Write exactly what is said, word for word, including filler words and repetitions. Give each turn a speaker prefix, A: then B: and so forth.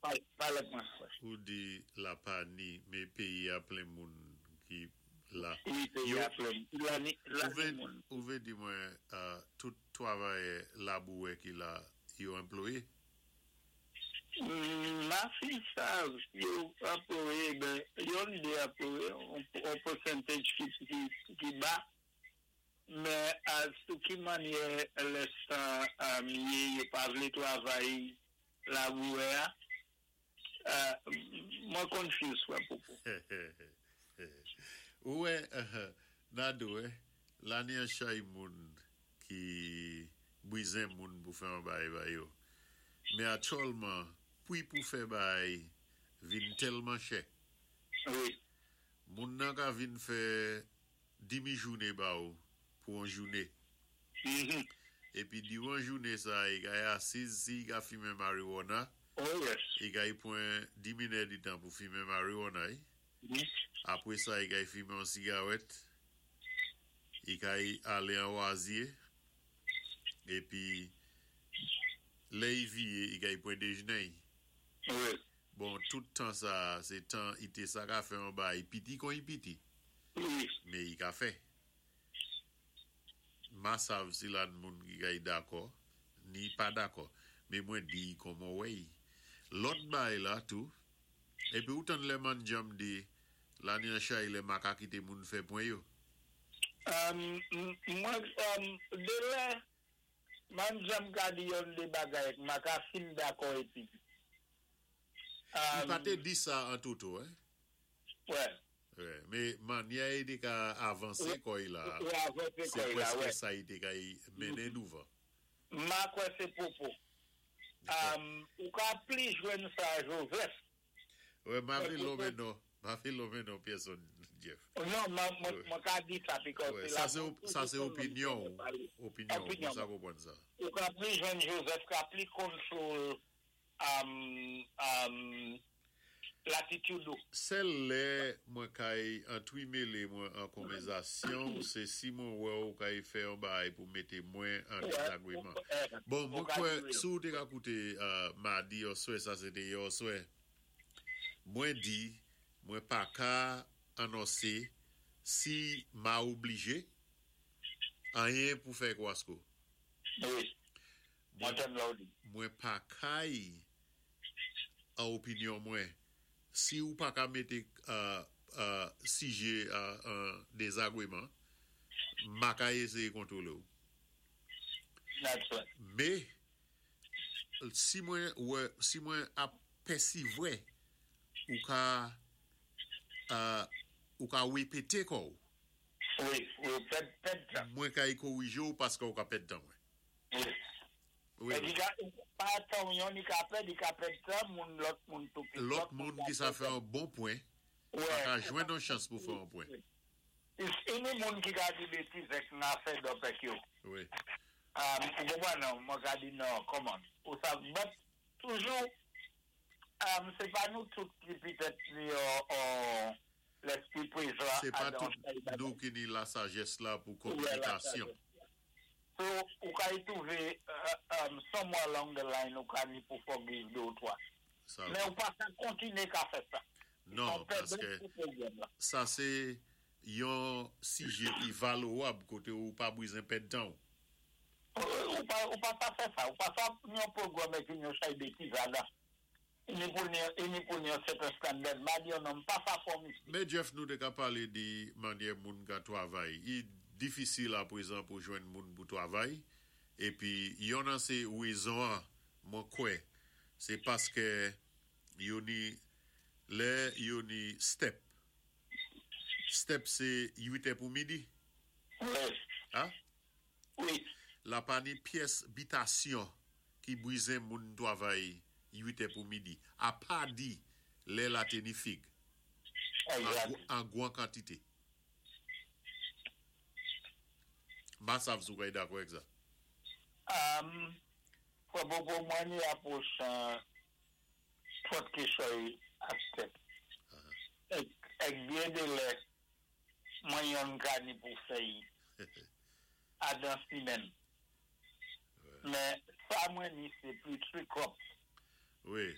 A: Palé mwen, frè.
B: Ou di la pa ni, mé péyi-a plen moun ki la.
A: Wi, péyi-a plen. La ni, la ni moun.
B: Ou vé di mwen, tout twavayè labouwè ki la, yo anplwayé?
A: Ma fi sav, yo anplwayé, ben, yon dé anplwayé, on percentage ki ba, men sou ki mannyè lè sa yé, yo pa vlé twavay labouwè-a, mwen confuse, wè, Popo.
B: Ou wè, Nado, la ni an chay moun ki bwizen moun pou fè an bay bay yo. Mé aktyèlman, pwi pou fè bay vin tèlman chè.
A: Wi.
B: Moun nan ka vin fè dimi jouné ba ou pou an jouné.
A: Mm-hmm.
B: Épi diwan jouné sa, i kay asiz si i ka fimen marijuana.
A: Oh yes.
B: I kay pwan di minit di tan pou fimen marijuana.
A: Mm-hmm.
B: Apwé sa, i kay fimen an sigarèt. I kay alé an wazye. Épi, lè i viyé, i kay pwan déjné.
A: Wi.
B: Bon, tout tan sa, sé tan i té sa ka fè an bay piti kon i piti.
A: Wi.
B: Mé i ka fè. Ma sav si la moun ki kay dakò, ni pa dakò. Mé mwen di kòman wè. Lòt bay la tou, épi ou tann lè Manjam di, la ni an chay lè ma ka kité moun fè pwen yo.
A: Mwen, dé lè, Manjam ka di yon dé bagay, ma ka fin dakò épi.
B: I pa té di sa an toto, eh?
A: Wè.
B: Wè, mé mannyè i té ka avansé kò'y la,
A: Wè, avanse
B: sé
A: kò'y la,
B: pwèské
A: wè.
B: Sa i té ka y mennen douvan.
A: Ma kwè sé Popo. Ou ka pli jwenn sa Joseph.
B: Wè, ma vlé lonmen non, ma vlé lonmen non pèsonn, Jeff.
A: Non, mwen ka di sa, because
B: Sa sé opinyon, opinyon, mwen sa konpwann sa.
A: Ou ka pli jwenn Joseph, ka pli kontwòl latitid ou.
B: Sèl lè mwen kay antwimélé mwen an konvèzasyon, sé si mwen wè ou kay fè yon bay pou mété mwen an dezagwéman. Bon, mwen kwè, sou te ka kouté madi oswè, sa sé té oswè, mwen di, mwen pa ka anonsé si ma oblijé anyen pou fè kwasko.
A: Wi, mwen tann lè ou di.
B: Mwen pa kay an opinyon mwen. Si ou pa ka mété sijé an dezagwéman, ma ka éséyé kontwolé ou.
A: That's right.
B: Mé, si mwen si mwen ap pèsivwè, ou ka ou ka wépété kò ou.
A: Wi, ou pèd pèd tan.
B: Mwen ka y kowijé ou paské ou ka pèd tan mwen.
A: Wi.
B: Wi.
A: E di ka, pa tan yon ni ka pèd, i ka pèd tan, moun lòt moun tou.
B: Lòt moun ki sa fè an bon pwen, pa ka jwenn an chans pou fè an pwen.
A: Ini moun ki ka di bétiz èk na fed up èk yo.
B: Wi.
A: Ou konpwann non, mwen ka di non, come on. Ou sa, but, toujou, sé pa nou tout ki pitèt ni yo lespri pwézan.
B: Sé pa tout nou ki ni la sajès la pou kominikasyon.
A: So, ou ka y twouvé somewhere along the line ou ka ni pou forgive dé ou twa. Men ou pa sa kontiné ka fè sa.
B: Non, paské sa sé yon sijé ki valwab koté ou pa bwizen pèd tan ou.
A: Ou pa sa fè sa. Ou pa sa yon pwogram ki yon chay bétiz adan. Ini pou ni yon certain standard. Ma di yon non, pa sa fòm isi.
B: Mé Jeff, nou té ka palé di mannyè moun ka twavay. I difisil apwézan pou jwenn moun pou twavay. Épi yon nan sé wézon an, mwen kwè, sé paské yo ni lè yo ni step. Step sé uitè pou midi?
A: Wi.
B: Ha?
A: Wi.
B: La pa ni pyès bitasyon ki bwizen moun twavay uitè pou midi. A pa di lè la té ni fig. An gwan kantité. Ma sav sou kay dakò èk sa?
A: Fwa Popo, mwen ni apwòch twòt kichòy ak tèt. Èk byen dé lè, mwen yon ka ni pou fèy adan simenn. Men, sa mwen ni se pli trikop.
B: Wi.